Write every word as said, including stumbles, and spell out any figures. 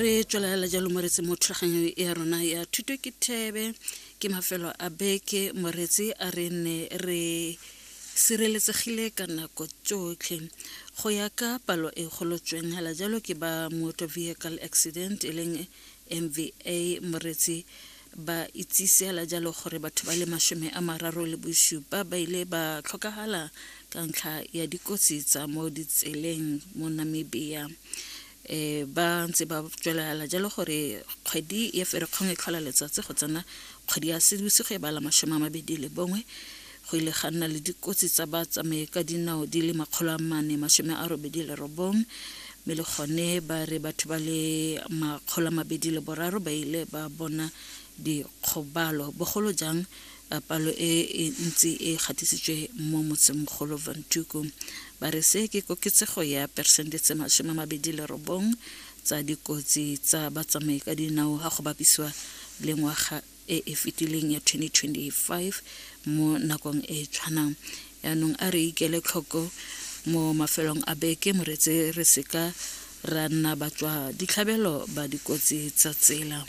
Re tswelela jalo, moretsi, mo thulaganyo ya rona ya Thuto ke Thebe. Ke mafelo a beke, moretsi, a re nne re sireletsegile ka nako tsotlhe. Go ya ka palo e golotsweng hela jalo ke ba Motor Vehicle Accident, e leng M V A, moretsi, ba itsise hela jalo gore batho ba le mashome a mararo le bosupa ba ile ba tlhokagala ka ntlha ya dikotsi tsa mo ditseleng mo Namibia. um ba ntse ba tswelela jalo gore kgwedi ya Ferekgong e tlhola letsatsi go tsena kgwedi ya Seetebosigo e bala mashome a mabedi le bongwe, go ile ga nna le dikotsi tsa batsamaye ka dinao di le makgolo a mane masome a robedi le robong, mme le gone ba re batho ba le makgolo a mabedi le boraro ba ile ba bona dikgobalo, bogolo jang eh, palo e e ntsi e gatisitswe mo motsemogolo Windhoek. Ba re se ke koketsego ya peresente tse masome a mabedi le robong tsa dikotsi tsa batsamai ka dinao ga go bapisiwa le ngwaga e e fetileng ya twenty twenty-five mo nakong e e tshwanang. Yaanong a re ikele tlhoko mo mafelong a beke, moretse, re seka ra nna batswa ditlhabelo ba dikotsi tsa tsela.